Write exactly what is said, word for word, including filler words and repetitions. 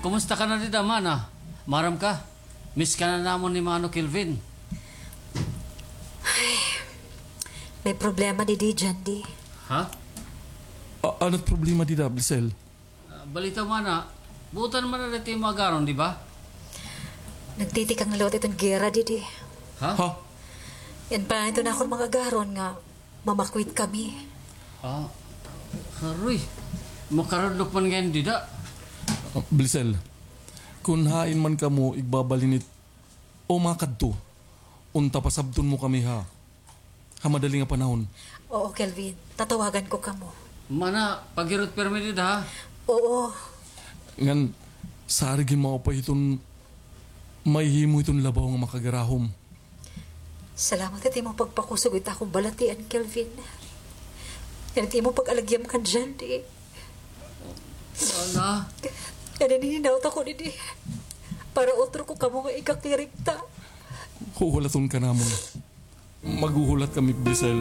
Kumusta ka na dida, mana? Maaram ka? Miss ka na namon ni Mano Kelvin. May problema didi, Jandy. Ha? A-, ano it problema dida, Blisel? Ah, balita, mana, buotan man na dida it imo agaron, di ba? Nagtitikang liwat iton gera didi. Ha? Ha? Yana pa iton akon mga agaron nga mamakwit kami. Ah, aroy. Makarudlok man ngay-an dida. Ah, Blisel, kun hain man kamo igbabalinit o makadto, unta pasabton mo kami ha, ha madali nga panahon. Oo, Kelvin. Tatawagan ko kamo. Mana, paghirot pirmi dida, ha? Oo. Ngan, sarig hin maupay hiton mahihimo hiton labaw nga makagarahom. Salamat ha it imo pagpakusog hit akon balatian, Kelvin. Ngan it imo pag-alagyam kan Jandy. Mana? Ngan nanghihinaot ako didi para utro ko kamo nga ikakirig ta. Huhulaton ka namon. Maghuhulat kami, Blisel.